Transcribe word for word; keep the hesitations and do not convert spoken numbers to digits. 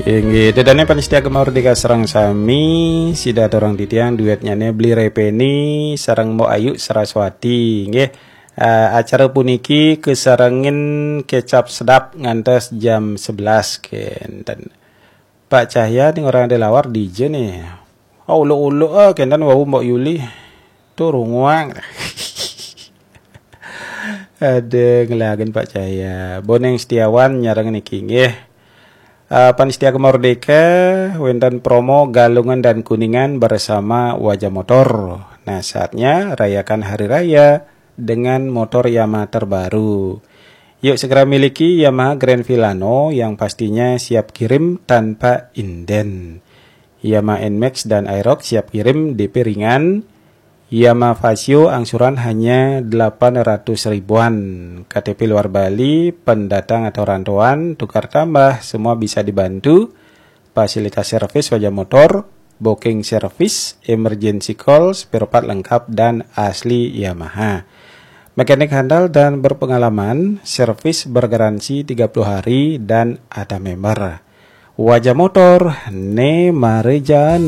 Inggih, dedane panitia Gema Merdeka sareng sami, sida aturang titiang duetnyane Bli Repeni sareng Mbok Ayu Saraswati, nggih. Eh, acara puniki kesarengin kecap sedap ngantos jam sebelas kenten. Pak Cahya ning orang ada lawar D J nih. Oh, uluk-uluk ah, kenten wau Mbok Yuli. Tuh runguang. Ada ngelagen Pak Cahya. Boneng Setiawan nyareng niki nggih. Uh, Panitia Gema Merdeka, wenten promo Galungan dan Kuningan bersama Wajah Motor. Nah, saatnya rayakan hari raya dengan motor Yamaha terbaru. Yuk segera miliki Yamaha Grand Filano yang pastinya siap kirim tanpa inden. Yamaha Nmax dan Aerox siap kirim D P ringan. Yamaha Fazzio angsuran hanya delapan ratus ribuan. K T P luar Bali, pendatang atau rantauan, tukar tambah, semua bisa dibantu. Fasilitas servis Wajah Motor, booking service, emergency call, spare part lengkap dan asli Yamaha. Mekanik handal dan berpengalaman, servis bergaransi tiga puluh hari dan ada member. Wajah Motor, ne marejan.